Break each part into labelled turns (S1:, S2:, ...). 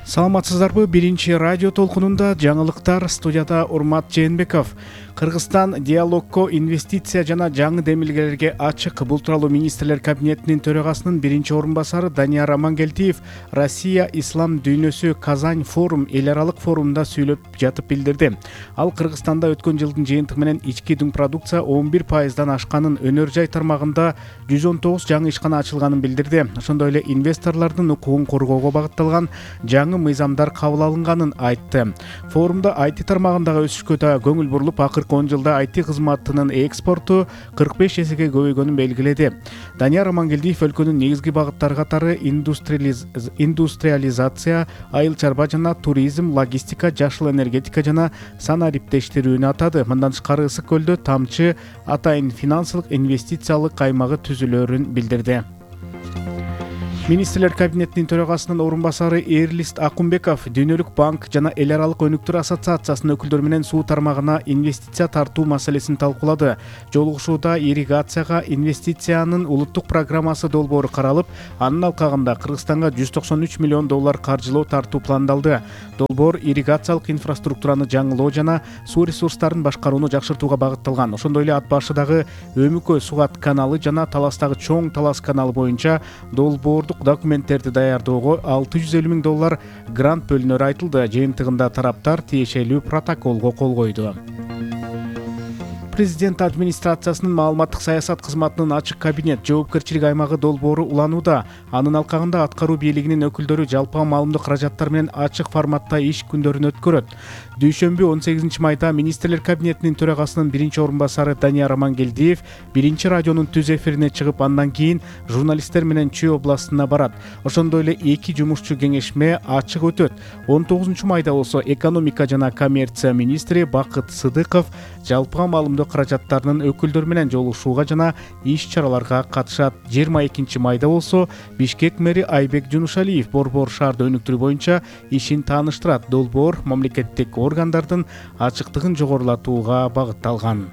S1: Саламатсыздарбы? Биринчи радио толкунунда жаңылыктар, студияда Урмат Жээнбеков. Кыргызстан диалогко, инвестиция жана жаңы демилгелерге ачык. Бул тууралуу министрлер кабинетинин төрагасынын биринчи орун басары Данияр Амангелдиев Россия ислам дүйнөсү Казань форум эл аралык форумунда сүйлөп жатып билдирди. Ал Кыргызстанда өткөн жылдын жыйынтыгы менен ички дүң продукция 11%дан ашканын, өнөр жай тармагында 119 жаңы ишкана ачылганын билдирди. Ошондой эле инвесторлордун укугун коргоого багытталган жаңы мыйзамдар кабыл алынганын айтты. Форумда IT тармагындагы өсүшкө да көңүл бурулуп, акыркы 10 жылда IT кызматынын экспорту 45 эсеге көбөйгөнүн белгиледи. Данияр Амангелдиев өлкөнүн негизги багыттары катары индустриализация, айыл чарба жана туризм, логистика, жашыл энергетика жана санариптештирүүнү атады. Мындан тышкары Ысык көлдө тамчы атайын финансылык инвестициялык каймагы түзүлөрүн билдирди. Министрлер кабинетинин төрагасынын орун басары Эрлист Акунбеков Дүйнөлүк банк жана эл аралык өнүктөр ассоциациясынын өкүлдөрү менен суу тармагына инвестиция тартуу маселесин талкуулады. Жолугушууда ирригацияга инвестициянын улуттук программасы долбоору каралып, анын алкагында Кыргызстанга $193 миллион каржылоо тартуу пландалды. Долбоор ирригациялык инфраструктураны жаңылоо жана суу ресурстарын башкарууну жакшыртууга багытталган. Ошондой эле ат башыдагы Өмүкө Сугат каналы жана Таластагы Чоң Талас каналы боюнча долбоордук документтерди даярдоого $650 миң грант бөлүнөрү айтылды. Жыйынтыгында тараптар тиешелүү протоколго кол койду. Президент администрациясынын маалыматтык саясат кызматынын ачык кабинет жоопкерчилик аймагы долбоору уланууда. Анын алкагында аткаруу бийлигинин өкүлдөрү жалпы маалымдык каражаттар менен ачык форматта иш күндөрүн өткөрөт. Дүйшөмбү 18 майда министрлер кабинетинин төрагасынын биринчи орун басары Данияр Амангелдиев биринчи радионун түз эфирине чыгып, андан кийин журналисттер менен Чүй областына барат. Ошондой эле 2 жумушчу кеңешме ачык өтөт. 19 майда болсо экономика жана коммерция министри Бакыт Сыдыков жалпы маалымдык каражаттарынын өкүлдөрү менен жолугушууга жана иш-чараларга катышат. 22 майда болсо Бишкек мэри Айбек Жунушалиев Борбор шаарды өнүктүрүү боюнча ишин тааныштырат. Долбоор мамлекеттик органдардын ачыктыгын жогорулатууга багытталган.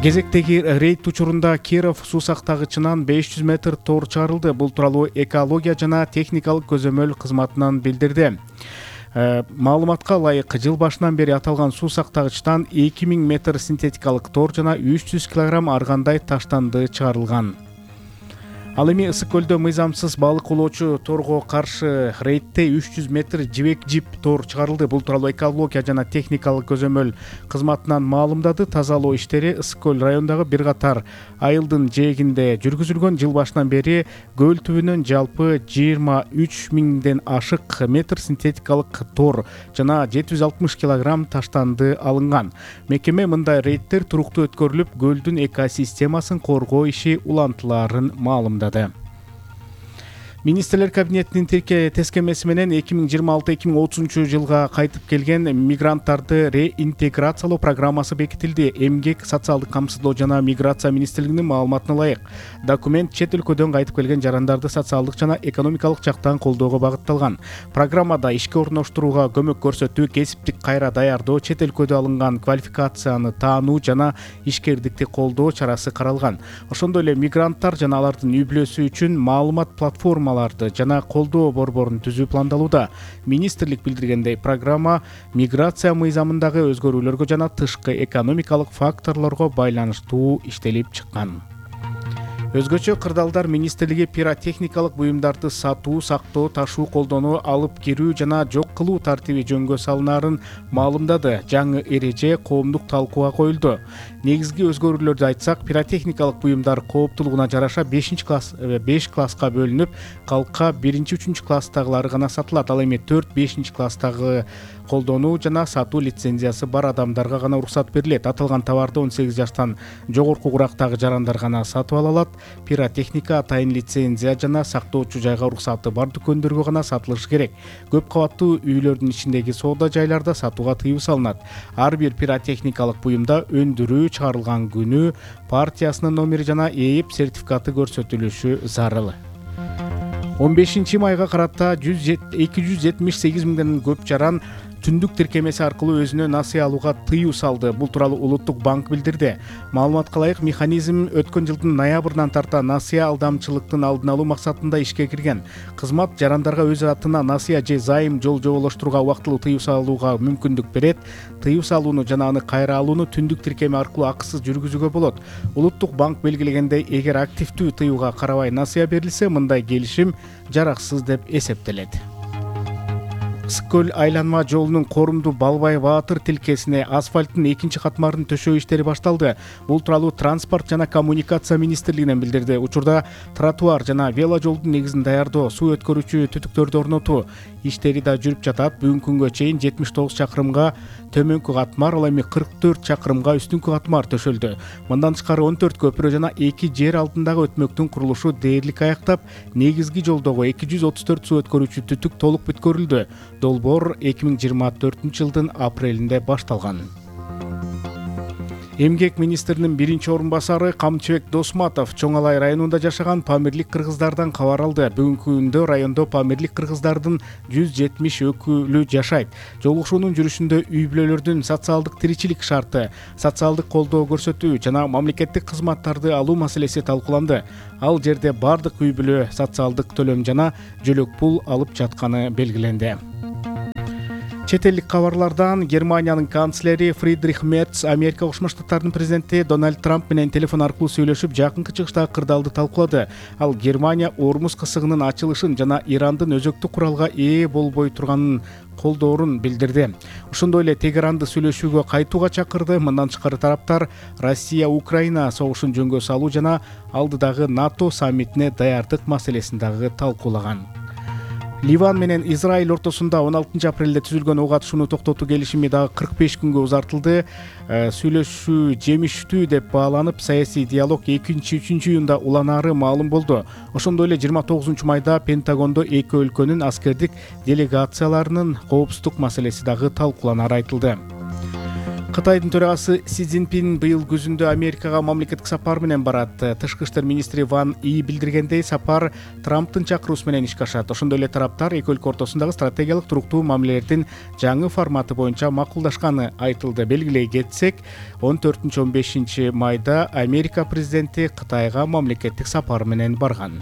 S1: Кезектеги рейд учурунда Киров суу сактагычынан 500 метр тор чыгарылды. Бул тууралуу экология жана техникалык көзөмөл кызматынан билдирди. Маалыматка ылайык, жыл башынан бери аталган суу сактагычтан 2000 метр синтетикалык тор жана 300 кг аргандай таштанды чыгарылган. Ал эми Ысык көлдө мыйзамсыз балык улоочу торго каршы рейдте 300 метр жибек жип тор чыгарылды. Бул тууралуу экология жана техникалык көзөмөл кызматынан маалымдады. Тазалоо иштери Ысык көл районундагы бир катар айылдын жээгинде жүргүзүлгөн. Жыл башынан бери көл түбүнөн жалпы 23 миңден ашык метр синтетикалык тор жана 760 кг таштанды алынган. Мекеме мындай рейдтер туруктуу өткөрүлүп, көлдүн экосистемасын коргоо иши улантылаарын маалымдады. Министрлер кабинетинин тескемеси менен 2026-2030 жылга кайтып келген мигранттарды реинтеграциялоо программасы бекитилди. Эмгек, социалдык камсыздоо жана миграция министрлигинин маалыматына ылайык, документ чет өлкөдөн кайтып келген жарандарды социалдык жана экономикалык жактан колдоого багытталган. Программада ишке орноштурууга көмөк көрсөтүү, кесиптик кайра даярдоо, чет өлкөдө алынган квалификацияны таануу жана ишкердикти колдоо чарасы каралган. Ошондой эле мигранттар жана алардын үй-бүлөсү үчүн маалымат платформалары жана колдоо борборун түзүү пландалууда. Министрлик билдиргендей, программа миграция мыйзамындагы өзгөрүүлөргө жана тышкы экономикалык факторлорго байланыштуу иштелип чыккан. Өзгөчө кырдаалдар министрлиги пиротехникалык буюмдарды сатуу, сактоо, ташуу, колдонуу, алып кирүү жана жок кылуу тартиби жөнгө салынаарын маалымдады. Жаңы эреже коомдук талкууга коюлду. Негизги өзгөрүүлөрдү айтсак, пиротехникалык буюмдар кооптуулугуна жараша 5 класска бөлүнүп, калка 1-3 класстагылары гана сатылат. Ал эми 4-5 класстагы колдонуу жана сатуу лицензиясы бар адамдарга гана уруксат берилет. Аталган товарды 18 жаштан жогорку курактагы жарандар гана сатып ала алат. Пиротехника атайын лицензия жана сактоочу жайга уруксаты бар дүкөндөргө гана сатылышы керек. Көп кабаттуу үйлөрдүн ичиндеги соода жайларда сатууга тыюу салынат. Ар бир пиротехникалык буюмда өндүрүү чыгарылган күнү, партиясынын номери жана ээп сертификаты көрсөтүлүшү зарыл. 15 майга карата 278 миңден көп жаран түндүк тиркемеси аркылуу өзүнө насыя алууга тыюу салды. Бул тууралуу Улуттук банк билдирди. Маалыматка ылайык, механизм өткөн жылдын ноябрынан тарта насыя алдамчылыктын алдын алуу максатында ишке кирген. Кызмат жарандарга өз атына насыя же зайым жоболоштурууга убактылуу тыюу салууга мүмкүндүк берет. Тыюу салууну жана аны кайра алууну түндүк тиркеме аркылуу акысыз жүргүзүүгө болот. Улуттук банк белгилегендей, эгер активдүү тыюуга карабай насыя берилсе, мындай келишим жараксыз деп эсептелет. Ысык көл айланма жолунун Корумду Балбай Баатыр тилкесине асфальттын экинчи катмарын төшөө иштери башталды. Бул тууралуу Транспорт жана коммуникация министрлигинен билдирди. Учурда тротуар жана вело жолдун негизин даярдоо, суу өткөрүүчү түтүктөрдү орнотуу иштери да жүрүп жатат. Бүгүнкү күнгө чейин 79 чакырымга төмөнкү катмар, ал эми 44 чакырымга үстүнкү катмар төшөлдү. Мындан тышкары 14 көпүрө жана 2 жер алдындагы өтмөктүн курулушу дээрлик аяктап, негизги жолдогу 234 суу өткөрүүчү түтүк толук бүткөрүлдү. Долбоор 2024-жылдын апрелинде башталган. Эмгек министринин биринчи орун басары Камчыбек Досматов Чоң Алай районунда жашаган памирлик кыргыздардан кабар алды. Бүгүнкү күндө райондо памирлик кыргыздардын 170 өкүлү жашайт. Жолугушуунун жүрүшүндө үй-бүлөлөрдүн социалдык тиричилик шарты, социалдык колдоо көрсөтүү жана мамлекеттик кызматтарды алуу маселеси талкууланды. Ал жерде бардык үй-бүлө социалдык төлөм жана жөлөк пул алып жатканы белгиленди. Чет элдик кабарлардан Германиянын канцлери Фридрих Мерц Америка Кошмо Штаттарынын президенти Дональд Трамп менен телефон аркылуу сүйлөшүп, жакынкы чыгыштагы кырдаалды талкуулады. Ал Германия Ормуз кысыгынын ачылышын жана Ирандын өзөктүк куралга ээ болбой турганын колдоорун билдирди. Ошондой эле Тегеранды сүйлөшүүгө кайтууга чакырды. Мындан тышкары тараптар Россия-Украина согушун жөнгө салуу жана алдыдагы НАТО саммитине даярдык маселесин дагы талкуулаган. Ливан менен Израиль ортосунда 16 апрелде түзүлгөн ок атышууну токтотуу келишими дагы 45 күнгө узартылды. Сүйлөшүү жемиштүү деп бааланып, саясий диалог 2-3 июнда уланаары маалым болду. Ошондой эле 29 майда Пентагондо эки өлкөнүн аскердик делегацияларынын коопсуздук маселеси дагы талкууланары айтылды. Кытайдын төрагасы Си Цзиньпин быйыл күзүндө Америкага мамлекеттик сапар менен барат. Тышкы иштер министри Ван И билдиргендей, сапар Трамптын чакыруусу менен ишке ашат. Ошондой эле тараптар эки өлкө ортосундагы стратегиялык туруктуу мамилелердин жаңы форматы боюнча макулдашканы айтылды. Белгилей кетсек, 14-15 майда Америка президенти Кытайга мамлекеттик сапар менен барган.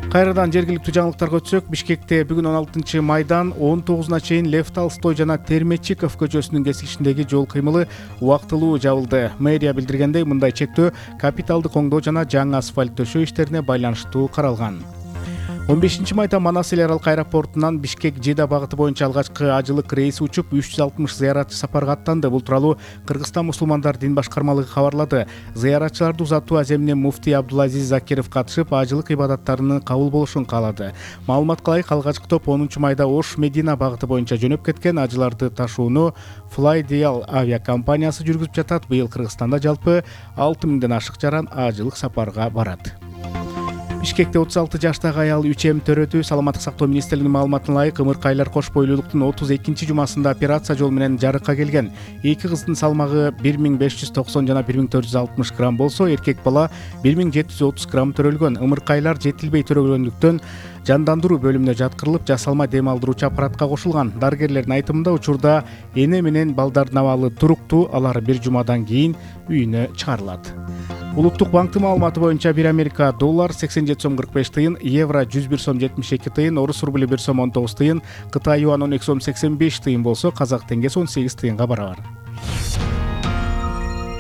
S1: Кайрадан жергиликтүү жаңылыктарга өтсөк, Бишкекте бүгүн 16 майдан 19-на чейин Лев Толстой жана Терметчиков көчөсүнүн кесилишиндеги жол кыймылы убактылуу жабылды. Мэрия билдиргендей, мындай чектөө капиталдык оңдоо жана жаңы асфальт төшөө иштерине байланыштуу каралган. 15 майда Манас эл аралык аэропортунан Бишкек-Жида багыты боюнча алгачкы ажылык рейси учуп, 360 зыяратчы сапарга аттанды. Бул тууралуу Кыргызстан мусулмандар дин башкармалыгы кабарлады. Зыяратчыларды узатуу аземинин муфтий Абдулазиз Закиров катышып, ажылык ибадаттарынын кабыл болушун каалады. Маалыматка ылайык, алгачкы топ 10 майда Ош-Медина багыты боюнча жөнөп кеткен. Ажыларды ташууну Flydial авиакомпаниясы жүргүзүп жатат. Быйыл Кыргызстанда жалпы 6000ден ашык жаран ажылык сапарга барат. Бишкекте 36 жаштагы аял 3М төрөтү. Саламаттык сактоо министрлигинин маалыматына ылайык, ымыркайлар кош бойлуулуктун 32 жумасында операция жолу менен жарыкка келген. Эки кыздын салмагы 1590 жана 1460 грамм болсо, эркек бала 1730 грамм төрөлгөн. Ымыркайлар жетилбей төрөлгөндүктөн жандандыруу бөлүмүнө жаткырылып, жасалма дем алдыруучу аппаратка кошулган. Дарыгерлердин айтымында, учурда эне менен балдардын абалы туруктуу, алар бир жумадан кийин үйүнө чыгарылат. Улуттук банктын маалыматы боюнча, 1 Америка доллар 87 сом 45 тыйын, евро 101 сом 72 тыйын, орус рубли 1 сом 19 тыйын, Кытай юан 12 сом 85 тыйын болсо, казак теңгеси 18 тыйынга барабар.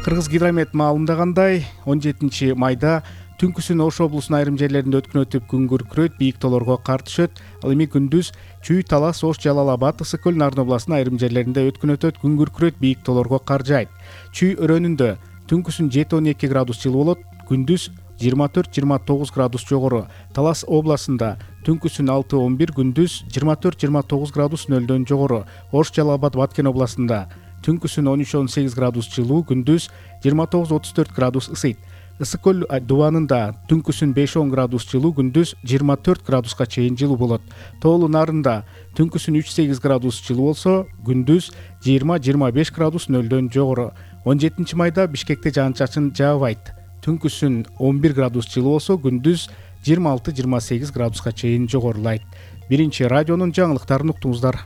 S1: Кыргыз гидромет маалымдагандай, 17 майда түнкүсүн Ош облусунун айрым жерлеринде өткөн өтүп, күн күркүрөйт, бийик тоолорго кар түшөт. Ал эми күндүз Чүй, Талас, Ош, Жалал-Абад, Ысык көл, Нарын областынын айрым жерлеринде өткөн өтөт, күн күркүрөйт, бийик тоолорго кар жаайт. Чүй өрөөнүндө түнкүсүн 7-12 градус жылуу болот, күндүз 24-29 градус жогору. Талас областында түнкүсүн 6-11, күндүз 24-29 градус нөлдөн жогору. Ош, Жалал-Абад, Баткен областында түнкүсүн 13-18 градус жылуу, күндүз 29-34 градус ысыйт. Ысык көл дубанында түнкүсүн 5-10 градус жылуу, күндүз 24 градуска чейин жылуу болот. Тоолу Нарында түнкүсүн 3-8 градус жылуу болсо, күндүз 20-25 градус нөлдөн жогору. 17 майда Бишкекте жаан-чачын жаабайт. Түнкүсүн 11 градус жылуу болсо, күндүз 26-28 градуска чейин жогорулайт. Биринчи радионун жаңылыктарын уктуңуздар.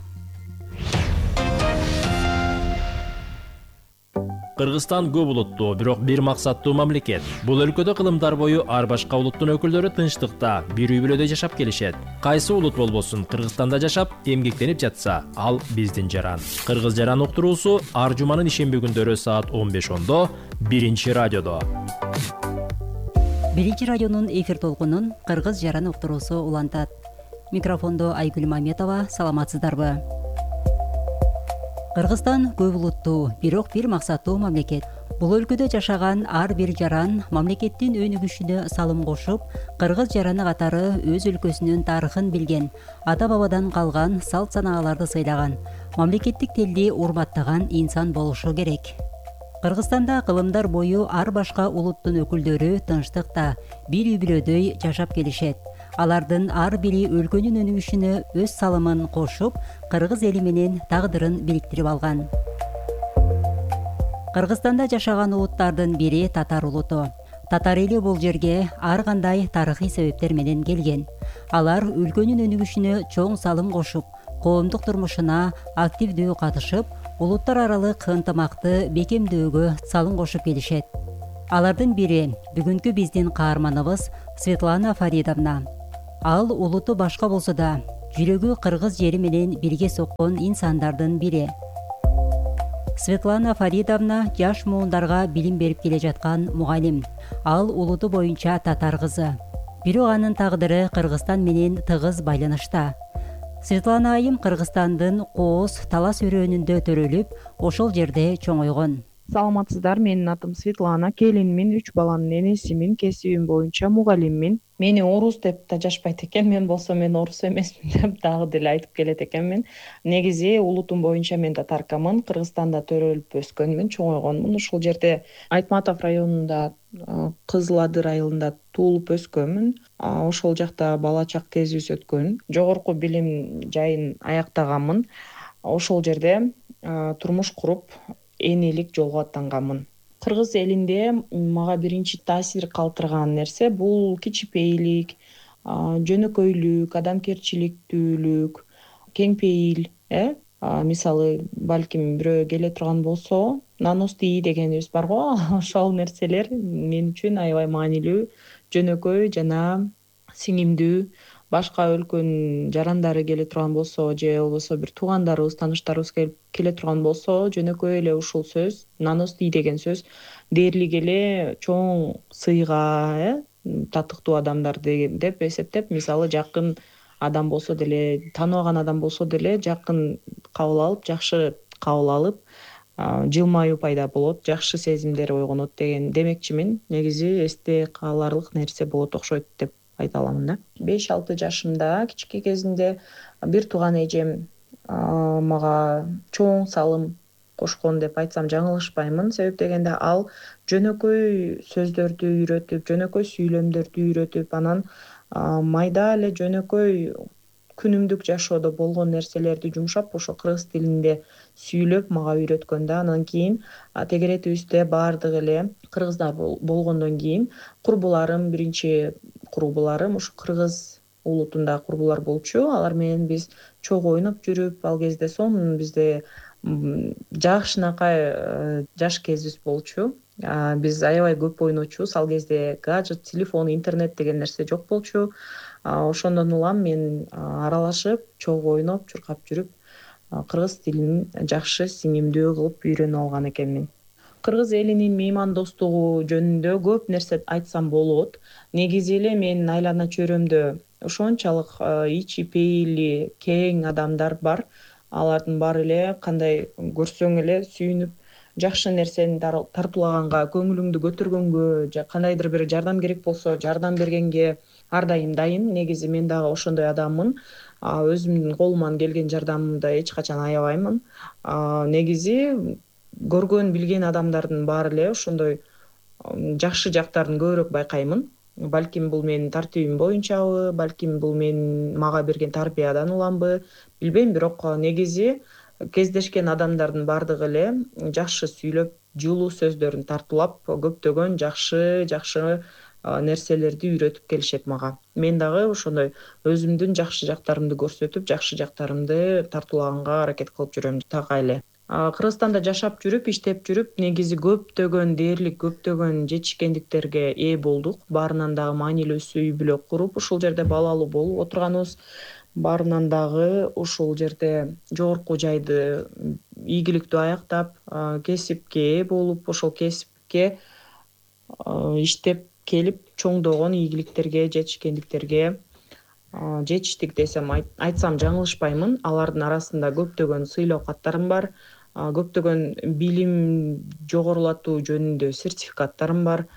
S2: Кыргызстан көп улуттуу, бирок бир максаттуу мамлекет. Бул өлкөдө кылымдар бою ар башка улуттун өкүлдөрү тынчтыкта, бир үй бүлөдө жашап келишет. Кайсы улут болбосун, Кыргызстанда жашап, эмгектенип жатса, ал биздин жаран. Кыргыз жаран уктуруусу ар жуманын ишемби күндөрү саат 15:10 биринчи радиодо.
S3: Биринчи радионун эфир толкунун Кыргыз жаран уктуруусу улантат. Микрофондо Айгүл Маметова, саламатсыздарбы? Кыргызстан көп улуттуу, бирок бир максаттуу мамлекет. Бул өлкөдө жашаган ар бир жаран мамлекеттин өнүгүшүнө салым кошуп, кыргыз жараны катары өз өлкөсүнүн тарыхын билген, ата-бабадан калган салт санааларды сыйлаган, мамлекеттик тилди урматтаган инсан болушу керек. Кыргызстанда кылымдар бою ар башка улуттун өкүлдөрү тынчтыкта, бир үй бүлөдөй жашап келишет. Алардын ар бири өлкөнүн өнүгүшүнө өз салымын кошуп, кыргыз эли менен тагдырын бириктирип алган. Кыргызстанда жашаган улуттардын бири татар улуту. Татар эли бул жерге ар кандай тарыхый себептер менен келген. Алар өлкөнүн өнүгүшүнө чоң салым кошуп, коомдук турмушуна активдүү катышып, улуттар аралык ынтымакты бекемдөөгө салым кошуп келишет. Алардын бири бүгүнкү биздин каарманыбыз Светлана Фаридовна. Ал улуту башка болсо да, жүрөгү кыргыз жери менен бирге соккон инсандардын бири. Светлана Фаридовна жаш муундарга билим берип келе жаткан мугалим. Ал улуту боюнча татар кызы. Бирок анын тагдыры Кыргызстан менен тыгыз байланышта. Светлана айым Кыргызстандын Кооз Талас өрөөнүндө төрөлүп, ошол жерде чоңойгон.
S4: Саламатсыздар, менин атым Светлана, келинмин, 3 баланын энесимин, кесибим боюнча мугалиммин. Мени орус деп да жашпайт экен, мен болсо мен орус эмесмин деп дагы деле айтып келет экенмин. Негизи улутум боюнча мен татаркамын, Кыргызстанда төрөлүп өскөнмүн, чоңойгонмун. Ошол жерде Айтматов районунда, Кызыл Адыр айылында туулуп өскөнмүн. Ошол жакта бала чак кезибиз өткөн. Жогорку билим жайын аяктаганмын. Ошол жерде турмуш куруп, энелик жолго аттанганмын. Кыргыз элинде мага биринчи таасир калтырган нерсе бул кичипейлик, жөнөкөйлүк, адамгерчиликтүүлүк, кеңпейил. Мисалы, балким бирөө келе турган болсо, наностий дегенибиз бар го, ошол нерселер мен үчүн аябай маанилүү, жөнөкөй жана сиңимдүү. Башка өлкөнүн жарандары келе турган болсо, же болбосо бир туугандарыбыз, тааныштарыбыз келе турган болсо, жөнөкөй эле ушул сөз, наностий деген сөз дээрлик эле чоң сыйга, татыктуу адамдар деп эсептеп, мисалы жакын адам болсо деле, тааныбаган адам болсо деле жакын кабыл алып, жакшы кабыл алып, жылмаюу пайда болот, жакшы сезимдер ойгонот деген демекчимин. Негизи эсте каларлык нерсе болот окшойт деп айта аламын да. 5-6 жашымда, кичине кезинде бир тууган эжем мага чоң салым кошкон деп айтсам жаңылышпаймын. Себеп дегенде ал жөнөкөй сөздөрдү үйрөтүп, жөнөкөй сүйлөмдөрдү үйрөтүп, анан майда эле жөнөкөй күнүмдүк жашоодо болгон нерселерди жумшап, ошо кыргыз тилинде сүйлөп мага үйрөткөн да. Анан кийин тегеретибизде баардыгы эле кыргыздар болгондон кийин курбуларым, биринчи курбуларым ушу кыргыз улутунда курбулар болчу. Алар менен биз чогуу ойноп жүрүп, ал кезде сонун бизде жакшынакай жаш кезибиз болчу. Биз аябай көп ойночубуз. Ал кезде гаджет, телефон, интернет деген нерсе жок болчу. Ошондон улам мен аралашып, чогуу ойноп, чуркап жүрүп, кыргыз тилин жакшы, сиңимдүү кылып үйрөнүп алган экенмин. Кыргыз элинин меймандостугу жөнүндө көп нерсе айтсам болот. Негизи эле менин айлана чөйрөмдө ошончолук ичи пейили кең адамдар бар. Алардын баары эле кандай көрсөң эле сүйүнүп, жакшы нерсени тартуулаганга, көңүлүңдү көтөргөнгө, же кандайдыр бир жардам керек болсо жардам бергенге ар дайым дайын. Негизи мен дагы ошондой адаммын. Өзүмдүн колуман келген жардамымды эч качан аябаймын. Негизи көргөн, билген адамдардын баары эле ошондой жакшы жактарын көбүрөөк байкаймын. Балким бул менин тартибим боюнчабы, балким бул мага берген тарбиядан уламбы, билбейм. Бирок негизи кездешкен адамдардын баардыгы эле жакшы сүйлөп, жылуу сөздөрүн тартуулап, көптөгөн жакшы нерселерди үйрөтүп келишет мага. Мен дагы ошондой өзүмдүн жакшы жактарымды көрсөтүп, жакшы жактарымды тартуулаганга аракет кылып жүрөм так эле. Кыргызстанда жашап жүрүп, иштеп жүрүп, негизи көптөгөн жетишкендиктерге ээ болдук. Баарынан дагы маанилүүсү үй бүлө куруп, ушул жерде балалуу болуп отурганыбыз. Баарынан дагы ушул жерде жогорку жайды ийгиликтүү аяктап, кесипке ээ болуп, ошол кесипке иштеп келип чоңдогон ийгиликтерге, жетишкендиктерге жетиштик десем айтсам жаңылышпаймын. Алардын арасында көптөгөн сыйлоо каттарым бар, көптөгөн билим жогорулатуу жөнүндө сертификаттарым бар.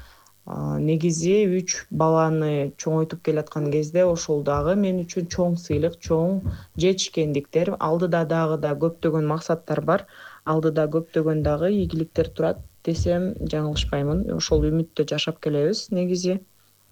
S4: Негизи 3 баланы чоңойтуп келаткан кезде ошол дагы мен үчүн чоң сыйлык, чоң жетишкендиктер. Алдыда дагы да көптөгөн максаттар бар, алдыда көптөгөн дагы ийгиликтер турат десем жаңылышпаймын. Ошол үмүттө жашап келебиз. Негизи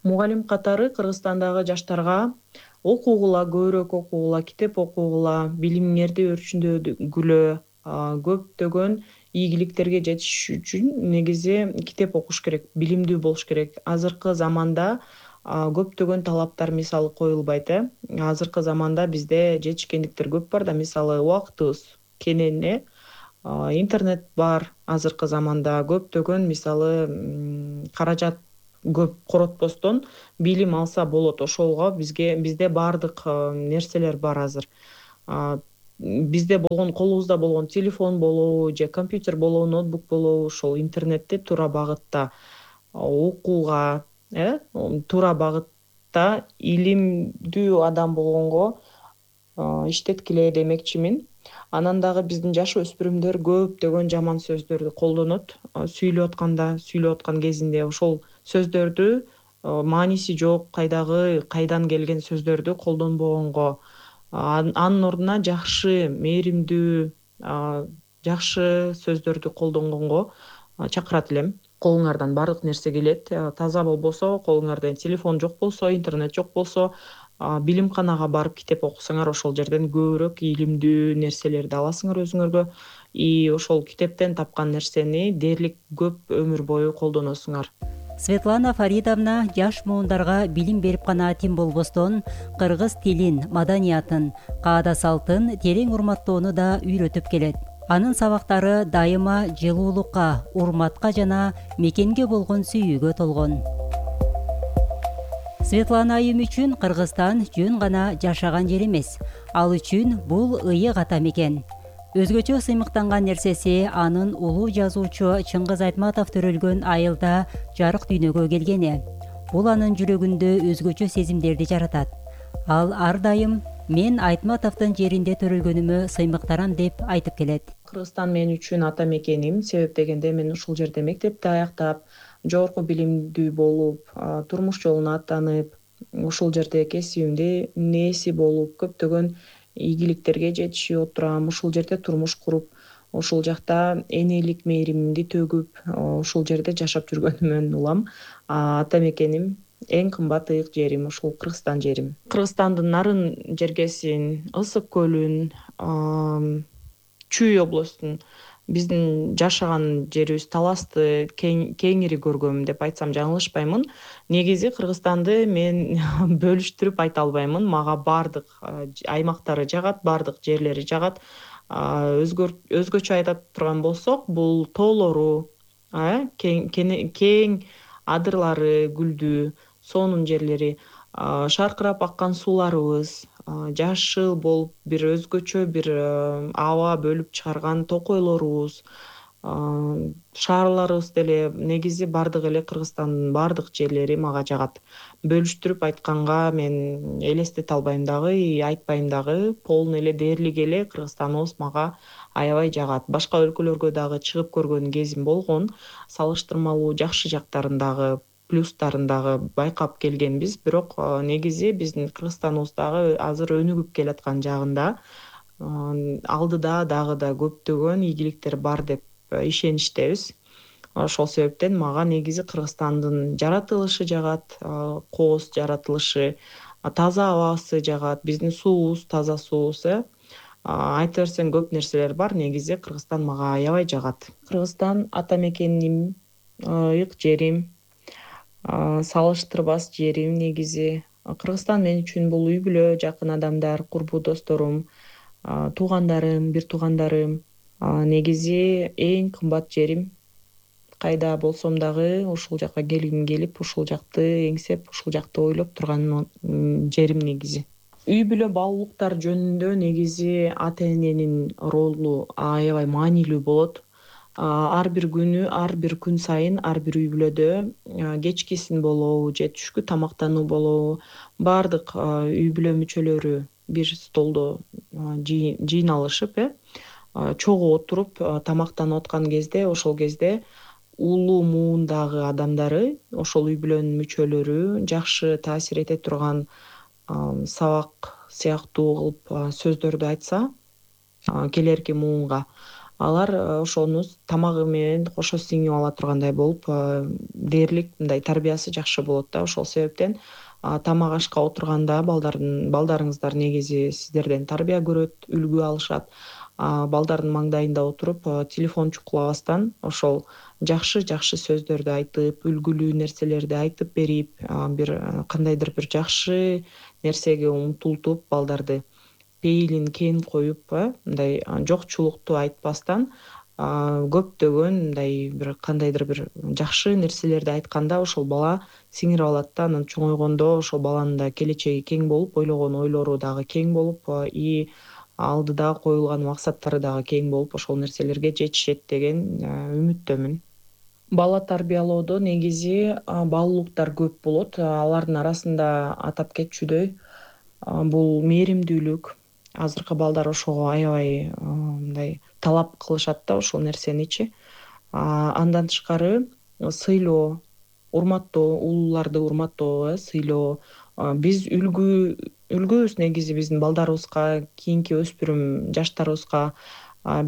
S4: мугалим катары Кыргызстандагы жаштарга окугула, көбүрөөк окугула, китеп окугула, билимиңерди өрчүндөгүлө, көптөгөн ийгиликтерге жетиш үчүн негизи китеп окуш керек, билимдүү болуш керек. Азыркы заманда көптөгөн талаптар мисалы коюлбайт. Азыркы заманда бизде жетишкендиктер көп бар да, мисалы убактыбыз кенен, интернет бар. Азыркы заманда көптөгөн мисалы каражат көп коротпостон билим алса болот. Ошолго бизде баардык нерселер бар азыр. Бизде болгон, колубузда болгон телефон болобу же компьютер болобу, ноутбук болобу, ошол интернетти туура багытта окууга, туура багытта илимдүү адам болгонго иштеткиле демекчимин. Анан дагы биздин жаш өспүрүмдөр көптөгөн жаман сөздөрдү колдонот. Сүйлөп аткан кезинде ошол сөздөрдү мааниси жок, кайдан келген сөздөрдү колдонбогонго, анын ордуна жакшы, мээримдүү, жакшы сөздөрдү колдонгонго чакырат элем. Колуңардан баардык нерсе келет. Таза болбосо, колуңарда телефон жок болсо, интернет жок болсо, билимканага барып китеп окусаңар, ошол жерден көбүрөөк илимдүү нерселерди аласыңар өзүңөргө. И ошол китептен тапкан нерсени дээрлик көп өмүр бою колдоносуңар.
S3: Светлана Фаридовна жаш муундарга билим берип гана тим болбостон, кыргыз тилин, маданиятын, каада салтын терең урматтоону да үйрөтүп келет. Анын сабактары дайыма жылуулукка, урматка жана мекенге болгон сүйүүгө толгон. Светлана айым үчүн Кыргызстан жөн гана жашаган жер эмес. Ал үчүн бул ыйык ата мекен. Өзгөчө сыймыктанган нерсеси анын улуу жазуучу Чыңгыз Айтматов төрөлгөн айылда жарык дүйнөгө келгени. Бул анын жүрөгүндө өзгөчө сезимдерди жаратат. Ал ар дайым мен Айтматовдун жеринде төрөлгөнүмө сыймыктарам деп айтып келет.
S4: Кыргызстан мен үчүн ата мекеним. Себеп дегенде мен ушул жерде мектепти аяктап, жогорку билимдүү болуп, турмуш жолуна аттанып, ушул жерде кесибимди нээси болуп, көптөгөн ийгиликтерге жетишип отурам. Ушул жерде турмуш куруп, ушул жакта энелик мээримимди төгүп, ушул жерде жашап жүргөнүмөн улам. Ата мекеним, эң кымбат ыйык жерим ушул Кыргызстан жерим. Кыргызстандын нарын жергесин, Ысык көлүн, Чүй областын биздин жашаган жерибиз Таласты кеңири көргөм деп айтсам жаңылышпаймын. Негизи Кыргызстанды мен бөлүштүрүп айта албаймын. Мага баардык аймактары жагат, баардык жерлери жагат. Өзгөчө айта турган болсок, бул тоолору, кең адырлары гүлдүү, сонун жерлери, шаркырап аккан сууларыбыз, жашыл болуп бир өзгөчө бир аба бөлүп чыгарган токойлорубуз, шаарларыбыз деле, негизи баардык эле Кыргызстандын баардык жерлери мага жагат. Бөлүштүрүп айтканга мен элестете албайм дагы, айтпайм дагы. Полный эле, дээрлик эле Кыргызстаныбыз мага аябай жагат. Башка өлкөлөргө дагы чыгып көргөн кезим болгон. Салыштырмалуу жакшы жактарын дагы, плюстарын дагы байкап келгенбиз. Бирок негизи биздин Кыргызстаныбыз дагы азыр өнүгүп келаткан жагында. Алдыда дагы да көптөгөн ийгиликтер бар деп ишеничтебиз. Ошол себептен мага негизи Кыргызстандын жаратылышы жагат, кооз жаратылышы, таза абасы жагат, биздин суубуз таза суубуз. Айта берсең көп нерселер бар, негизи Кыргызстан мага аябай жагат. Кыргызстан ата мекеним, ыйык жерим, салыштырбас жерим негизи. Кыргызстан мен үчүн бул үй бүлө, жакын адамдар, курбу досторум, туугандарым, бир туугандарым. Негизи эң кымбат жерим. Кайда болсом дагы ушул жака келгим келип, ушул жакты эңсеп, ушул жакты ойлоп турган жерим негизи. Үй бүлө баалуулуктар жөнүндө негизи ата эненин ролу аябай маанилүү болот. Ар бир күнү, ар бир күн сайын ар бир үй бүлөдө кечкисин болобу же түшкү тамактануу болобу баардык үй бүлө мүчөлөрү бир столдо жыйналышып чогуу отуруп тамактанып аткан кезде, ошол кезде улуу муундагы адамдары, ошол үй бүлөнүн мүчөлөрү жакшы таасир эте турган сабак сыяктуу кылып сөздөрдү айтса келерки муунга, алар ошону тамагы менен кошо сиңип ала тургандай болуп дээрлик мындай тарбиясы жакшы болот да. Ошол себептен тамак ашка отурганда балдарыңыздар негизи сиздерден тарбия көрөт, үлгү алышат. Балдардын маңдайында отуруп телефон чукулабастан ошол жакшы сөздөрдү айтып, үлгүлүү нерселерди айтып берип, бир кандайдыр бир жакшы нерсеге умтултуп балдарды пейилин кең коюп, мындай жокчулукту айтпастан көптөгөн мындай бир кандайдыр бир жакшы нерселерди айтканда ошол бала сиңирип алат да. Анан чоңойгондо ошол баланын да келечеги кең болуп, ойлогон ойлору дагы кең болуп, и алдыда коюлган максаттары дагы кең болуп, ошол нерселерге жетишет деген үмүттөмүн. Бала тарбиялоодо негизи баалуулуктар көп болот. Алардын арасында атап кетчүдөй бул мээримдүүлүк. Азыркы балдар ошого аябай мындай талап кылышат да ошол нерсеничи. Андан тышкары сыйлоо, урматтоо, улууларды урматтоо, сыйлоо. Биз үлгүбүз негизи биздин балдарыбызга, кийинки өспүрүм жаштарыбызга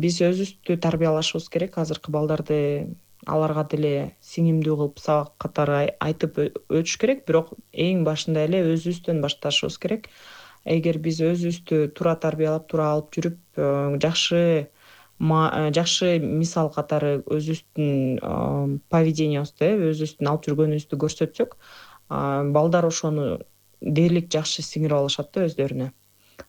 S4: биз өзүбүздү тарбиялашыбыз керек. Азыркы балдарды аларга деле сиңимдүү кылып сабак катары айтып өтүш керек, бирок эң башында эле өзүбүздөн башташыбыз керек. Эгер биз өзүбүздү туура тарбиялап, туура алып жүрүп, жакшы мисал катары өзүбүздүн поведениябызды, өзүбүздүн алып жүргөнүбүздү көрсөтсөк, балдар ошону дээрлик жакшы сиңирип алышат да өздөрүнө.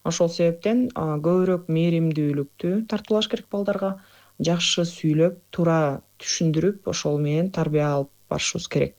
S4: Ошол себептен көбүрөөк мээримдүүлүктү тартуулаш керек балдарга, жакшы сүйлөп, туура түшүндүрүп, ошол менен тарбия алып барышыбыз керек.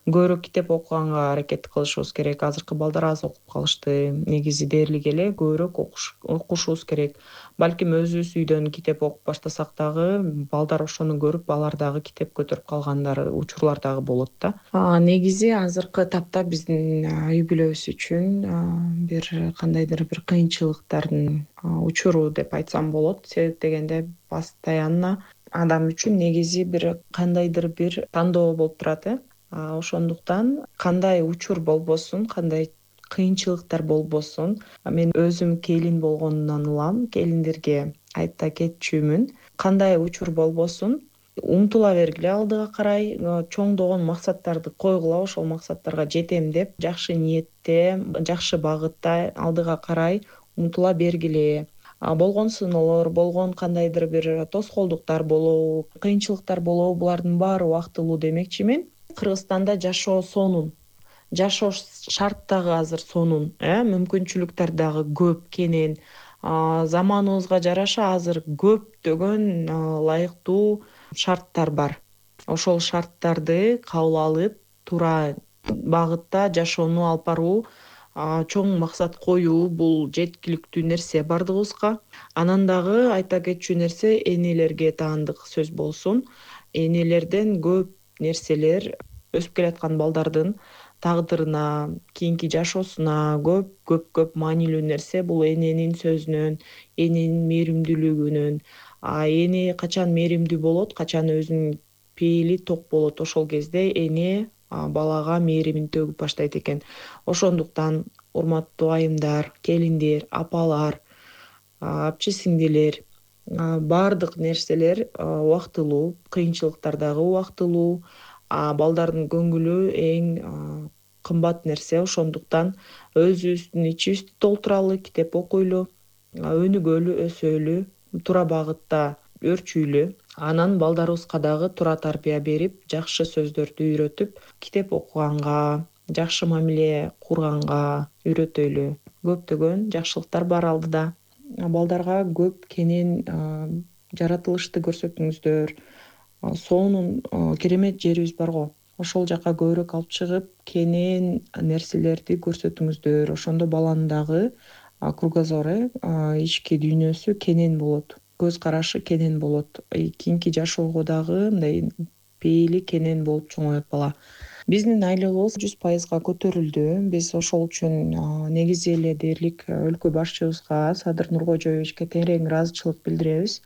S4: Көбүрөөк китеп окуганга аракет кылышыбыз керек. Азыркы балдар аз окуп калышты. Негизи дээрлик эле көбүрөөк окушубуз керек. Балким өзүбүз үйдөн китеп окуп баштасак дагы балдар ошону көрүп, алар дагы китеп көтөрүп калган учурлар дагы болот да. Негизи азыркы тапта биздин үй бүлөбүз үчүн бир кандайдыр бир кыйынчылыктардын учуру деп айтсам болот. Себеп дегенде постоянно адам үчүн негизи бир кандайдыр бир тандоо болуп турат. Ошондуктан кандай учур болбосун, кандай кыйынчылыктар болбосун, мен өзүм келин болгондон улам, келиндерге айта кетчүмүн. Кандай учур болбосун, умтула бергиле алдыга карай, чоңдогон максаттарды койгула, ошол максаттарга жетем деп жакшы ниетте, жакшы багытта алдыга карай умтула бергиле. Болгон сыноолор, болгон кандайдыр бир тоскоолдуктар болобу, кыйынчылыктар болобу, булардын баары убактылуу демекчи мен. Кыргызстанда жашоо сонун, жашоо шарт дагы азыр сонун, мүмкүнчүлүктөр дагы көп, кенен. Заманыбызга жараша азыр көптөгөн ылайыктуу шарттар бар. Ошол шарттарды кабыл алып, туура багытта жашоону алып баруу, чоң максат коюу бул жеткиликтүү нерсе бардыгыбызга. Анан дагы айта кетчү нерсе энелерге таандык сөз болсун. Энелерден көп нерселер өсүп келаткан балдардын тагдырына, кийинки жашоосуна көп маанилүү нерсе бул эненин сөзүнөн, эненин мээримдүүлүгүнөн. Эне качан мээримдүү болот, качан өзүнүн пейили ток болот, ошол кезде эне балага мээримин төгүп баштайт экен. Ошондуктан урматтуу айымдар, келиндер, апалар, апчы сиңдилер, баардык нерселер убактылуу, кыйынчылыктар дагы убактылуу. Балдардын көңүлү эң кымбат нерсе. Ошондуктан өзүбүздүн ичибизди толтуралы, китеп окуйлу, өнүгөлү, өсөлү, туура багытта өрчүйлү. Анан балдарыбызга дагы туура тарбия берип, жакшы сөздөрдү үйрөтүп, китеп окуганга, жакшы мамиле курганга үйрөтөлү. Көптөгөн жакшылыктар бар алдыда. Балдарга көп кенен жаратылышты көрсөтүңүздөр. Соонун керемет жерибиз бар го. Ошол жака көбүрөөк алып чыгып, кенен нерселерди көрсөтүңүздөр. Ошондо баланын дагы кругозору, ички дүйнөсү кенен болот, көз карашы кенен болот. Кийинки жашоого дагы мындай пейили кенен болуп чоңоет бала. Биздин айлыгыбыз 100% көтөрүлдү. Биз ошол үчүн негизи эле дээрлик өлкө башчыбызга, Садыр Нуркожоевичке терең ыраазычылык билдиребиз.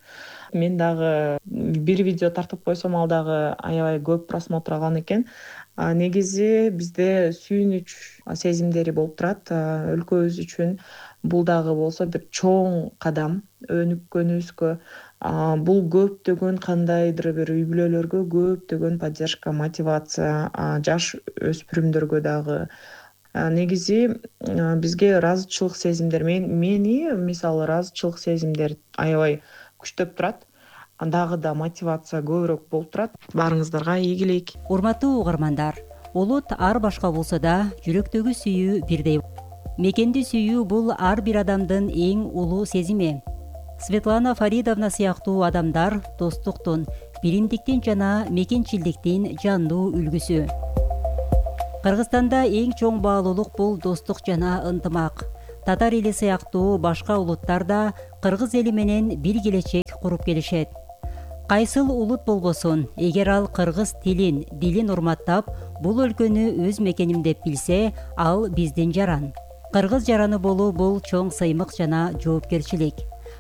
S4: Мен дагы бир видео тартып койсом, ал дагы аябай көп просмотр алган экен. Негизи бизде сүйүнүч сезимдери болуп турат. Өлкөбүз үчүн бул дагы болсо бир чоң кадам өнүккөнүбүзгө. Бул көптөгөн кандайдыр бир үй бүлөлөргө көптөгөн поддержка, мотивация, жаш өспүрүмдөргө дагы. Негизи бизге ыраазычылык сезимдер, мени мисалы ыраазычылык сезимдер аябай күчтөп турат. Дагы да мотивация көбүрөөк болуп турат. Баарыңыздарга ийгилик.
S3: Урматтуу угармандар, улут ар башка болсо да жүрөктөгү сүйүү бирдей. Мекенди сүйүү бул ар бир адамдын эң улуу сезими. Светлана Фаридовна сыяктуу адамдар достуктун, биримдиктин жана мекенчилдиктин жандуу үлгүсү. Кыргызстанда эң чоң баалуулук бул достук жана ынтымак. Татар эли сыяктуу башка улуттар да кыргыз эли менен бир келечек куруп келишет. Кайсыл улут болбосун, эгер ал кыргыз дилин урматтап, бул өлкөнү өз мекеним деп билсе, ал биздин жаран. Кыргыз жараны болуу бул чоң сыймык жана жоопкерчилик.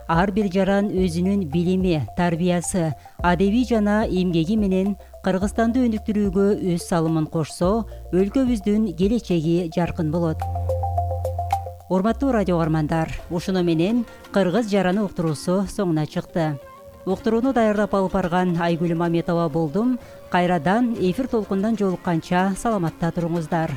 S3: Ар бир жаран өзүнүн билими, тарбиясы, адеби жана эмгеги менен Кыргызстанды өнүктүрүүгө өз салымын кошсо, өлкөбүздүн келечеги жаркын болот. Урматтуу радио угармандар, ушуну менен Кыргыз жараны уктуруусу соңуна чыкты. Уктурууну даярдап алып барган Айгүл Маметова болдум. Кайрадан эфир толкундан жолукканча саламатта туруңуздар.